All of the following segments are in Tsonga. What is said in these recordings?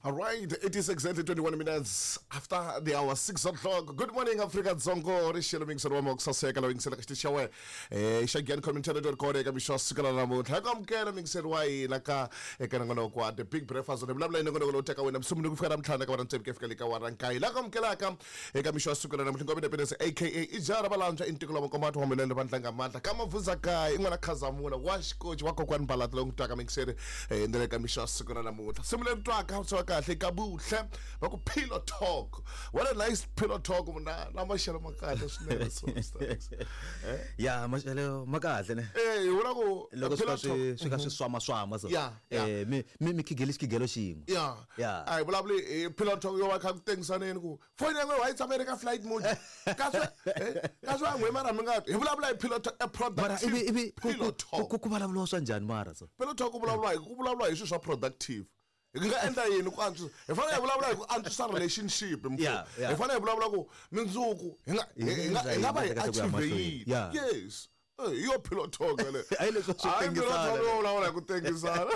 All right, it is exactly 21 minutes after the hour 6 o'clock. Good morning, Africa Dzongo. Ri xelo mingiselo wa ku saseka lowu yingiselaka xitichi xa wena. Xa Giyani Community Radio record eka mixo wa siku ra namuntlha. Hi ku amukela mingiselo wa hina ka eka nongonoko wa The Big Breakfast. Ni vulavula hi nongonoko lowu teka wena musunguli ku fika namuntlha ka vana ntsevu ku ya fika le ka wara nkaye. Laha ku amukelaka eka mixo wa siku ra namuntlha Ngombe Independence aka Ijara Valantswa i ntiko lowa makombato wa milele vandlanga mandla ka Mavuza kaya i n'wana Khazamula wa xikoci wa kokwani Mbalati lowu n'wi twaka mingiseri ndlela eka mixo wa siku ra namuntlha. Nsimu leri twaka swi va kahle ka Buhle va ku Pillow Talk. What a nice pillow talk muna na maxelo ma kahle swinene so Mr. X. Ya, maxelo ma kahle ne. Hi vula ku loko swi pillow ka swi talk. Swi ka swi swama swama so. Mi khigeli xikhigelo xin'we. A hi vulavuli hi pillow talk yo va kha ku tengisaneni ku foni ya n'we wa yi tshama yi ri ka flight mode kasi va n'we mara mi nga hi vulavula hi pillow talk, a mara productive ivi ku pillow talk. Ku vulavuriwa swa njhani mara so? Pillow talk ku vulavuriwa hi swilo swa productive, hi nga endla yini ku antswisa. Hi fanele hi vulavula hi ku antswisa relationship mfo. Hi fanele hi vulavula ku mindzuku hi nga va hi Hi nga endla yini ku ya achieve mahlweni? yini. Yes. Hi yo pillow talk le. Hayi, leswi swo Hayi pillow tengisana talk le. yo vulavula hi ku tengisana.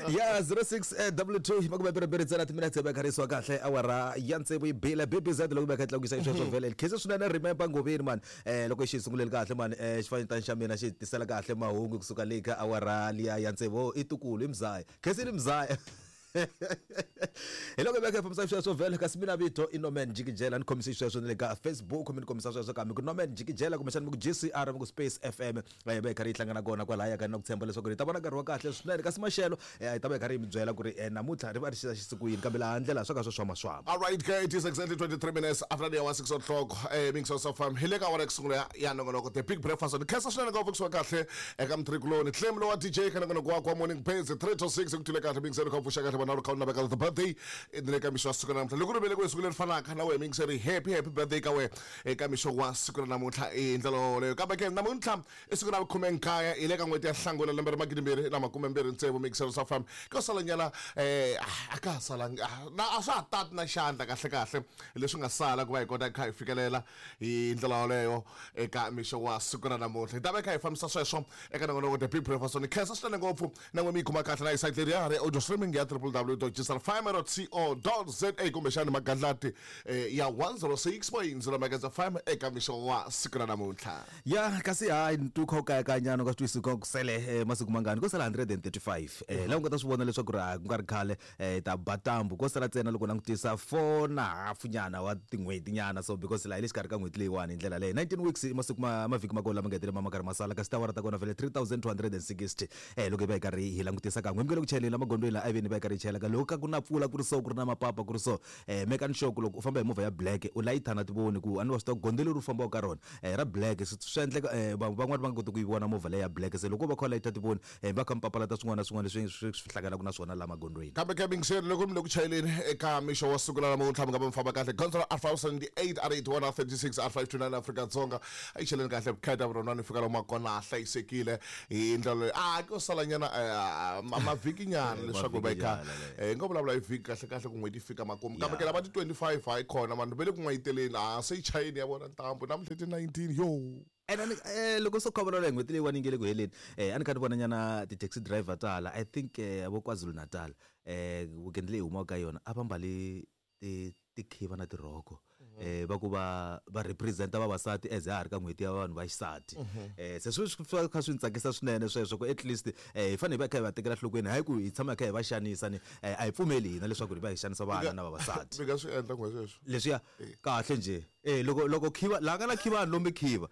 Ya, 06 22 22 ntsena timinetse va kharisiwa kahle awara ya tsevu yi bile BBZ loko va kha tlakukisa xisweswo vhele khese swinene. Remember Ngoveni man, loko xi sunguleli kahle man, xifanyetana xa mina xi tisela kahle mahungu kusuka le ka awara liya ya tsevu. I tukulu i mzaya, khesini mzaya. Hi loko va kha hi fambisa sweswo vhele. Kasi mina vito i Norman Jikijela, ni khomise xisweswo na le ka Facebook mi ni kombisa sweswo ka mi ku Norman Jikijela, kumbexana mi ku GCR, mi ku Space FM, va hi karhi yi hlangana kona kwalaya ka na ku tshemba leswaku hi ta vona nkarhi wa kahle swinene. Kasi maxelo hi ta va hi karhi hi mi byela ku ri namuntlha ri va ri xisa xisiku yini, kambe laha ndlela swa ka swo swama swama. All right, guys, it is exactly 23 minutes after the hour 6 o'clock. Mix of FM. Hi le ka awara ku sungula ya nongonoko The Big Breakfast. Ni khensa swinene ngopfu kusuka kahle eka mtrikuloni. Clem lowa DJ ka nongonoko wa kwa Morning Pains 3 to 6 ku tule kahle mixer ka pfuxa kahle vana ri kha u naveka the birthday ni le ka mixo wa siku ra namuntlha. Loko ri velekiwe siku leri fanaka na wena mixer, happy happy birthday ka wena eka mixo wa siku ra namuntlha i ndlela yoleyo. Kambe ke namuntlha i siku ra 19 hi le ka n'hweti ya Hlangula lembe ra 2026, mixer sa fam ko salanyana a ka ha salangi na a swa ha tati na xandla kahle kahle leswi nga sala ku va hi kota kha hi fikelela hi ndlela yoleyo eka mixo wa siku ra namuntlha. Hi ta va hi kha hi fambisa sweswo eka nongonoko The Big Breakfast. Ni khensa swinene ngopfu na n'we mi yi kuma kahle na hi site leri ya ri audio streaming ya www.gsrfm.co.za kumbexani magandlati ya 106.0 Megahertz FM eka mixo wa siku ra namuntlha. Ya, kasi hayi tu kha u kayakanyana u nga swi twisisi ku sele masiku mangani. Ko sala 135 laha u nga ta swi vona leswaku ri ku nga ri khale ta ba tambu. Ko sala ntsena loko langutisa 4 na hafu nyana wa tin'hweti nyana so, because laha hi le xikarhi ka n'hweti leyiwani hi ndlela leyi 19 weeks i masiku ma mavhiki ma kona lama nga hetelela ma karhi ma sala. Kasi tiawara ta kona vhele 3260 loko hi va hi karhi hi langutisa kan'we mi nge le ku chayeleni la magondzweni la a veni va hi karhi hi chayela ka loko ka ku na mpfula ku ri so, ku ri na mapapa ku ri so, mekani sure ku loko u famba hi movha ya black u layita na tivoni ku a ni wa swi tiva ku gondzo leri u fambaka ka rona ra black swi endleka van'wani va nga koti ku yi vona movha leyi ya black. Se loko va kha va layita tivoni va kha mi papalata swin'wana na swin'wana leswi swi hlanganaka na swona la magondzweni. Kambe ke mingiseri loko mi le ku chayeleni eka mixo wa siku ra namuntlha mi nga va mi famba kahle gondzo ra R578, R81, R36, R529, Afrika-Dzonga a yi cheleni kahle vukheta vurhonwani fika lomu kona a hlayisekile hi ndlela leyi a ko salanyana mavhiki nyana leswaku va kha Mavhiki nyana. Hi nga vulavula hi vhiki kahle kahle ku n'hweti yi fika makumu, kambe Ya. ke lava ti 25 hayi khona vanhu va le ku n'wayiteleni a se yi chayeni ya vona ntambu namuntlha ti 19 yo. Ene loko so kha vulavula hi n'hweti leyiwani yi nge le ku heleni, a ni kha ni vona nyana ti-taxi driver tala, I think vo KwaZulu Natal, weekend leyi humaka ka yona a va mbali tikhiva na tirhoko, va ku va representa vavasati as ha ha ri ka n'hweti ya vanhu va xisati. Se swi kha swi ni tsakisa swinene sweswo ku at least hi fanele hi va hi kha hi va tekela nhlokweni, hayi ku hi tshama hi kha hi va xanisa ni a hi pfumeli hina leswaku hi va hi xanisa vana na vavasati. Mi nga swi endla n'we sweswo. Leswiya kahle nje loko khiva la nga na khiva a ni lombi khiva,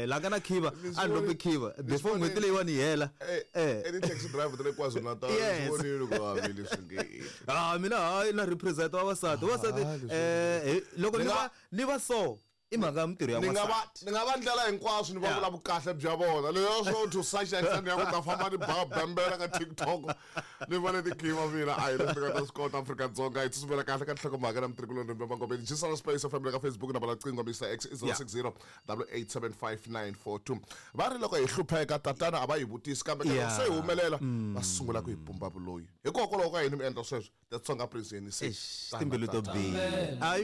la nga na khiva a ni lombi khiva before n'hweti leyiwani yi hela. Ti-taxi driver ta le KwaZulu Natal. Yes. Vonile ku havi leswi nge Ah, mina hayi na represent vavasati vavasati. Ah, leswi Loko Ni ni nga va ni va so i mhaka ya mintirho ya ni nga va n'wansati. Ni nga va ndlela hinkwaswo ni va vula vukahle bya vona leyo swo to such extent ya ku ta famba ni ba bembela ka TikTok ni va ni tikhiva mina a hi leswi ni nga ta swi kota. Afrika-Dzonga hi tsutsumela kahle ka nhlokomhaka na mitrikuloni mangomeni Gisela Space FM le ka Facebook na qingo Mr X i 060 8875942. Va ri loko hi hlupheka tatana a va hi vutisi, kambe ka loko se hi humelela va sungula ku hi pumba vuloyi. Hikokwalaho ka yini mi endla sweswo? The Tsonga Prince yeni se Eish, timbilu to biha. Ayi.